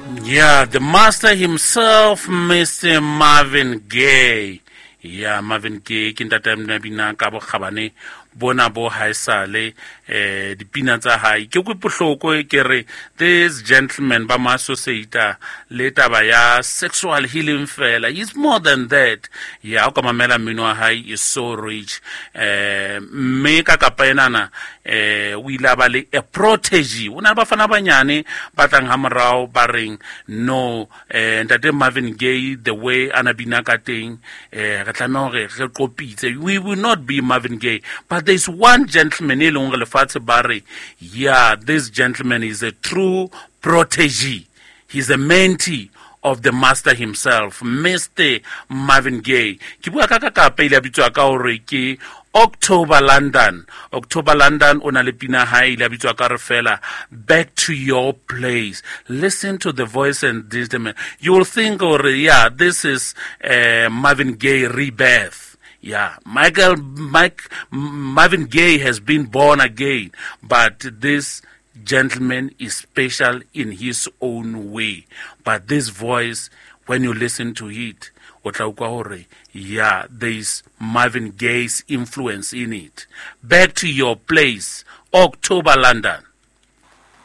Yeah, the master himself, Mr. Marvin Gaye. Yeah, Marvin Gaye ke ntate a bina ka bokgabane bona bo haesale eh dipina tsa hae ke kwe bohloko ke re this gentleman ba mo associata le taba ya sexual healing fela. Is more than that. Ya o ka mamela mmino wa hae is so rich. Eh mme ka kapa enana eh o ile a ba le a protege. O na le bafana banyane ba tlang ha morao ba reng no eh ntate Marvin Gaye, the way ana bina ka teng, eh re tlameha hore re qopitse. We will not be Marvin Gaye, but there is one gentleman e leng hore lefatshe ba re, yeah, this gentleman is a true protege. He's a mentee of the master himself, Mr. Marvin Gaye. Ke bua ka ka kapa ile a bitswa ka hore ke October London. October London o na le pina hae ile a bitswa ka re fela Back to Your Place. Listen to the voice and this, you will think or yeah, this is Marvin Gaye rebirth. Yeah, Michael Mike Marvin Gaye has been born again, but this gentleman is special in his own way. But this voice, when you listen to it, o tla utlwa hore yeah, there is Marvin Gaye's influence in it. Back to Your Place, October London.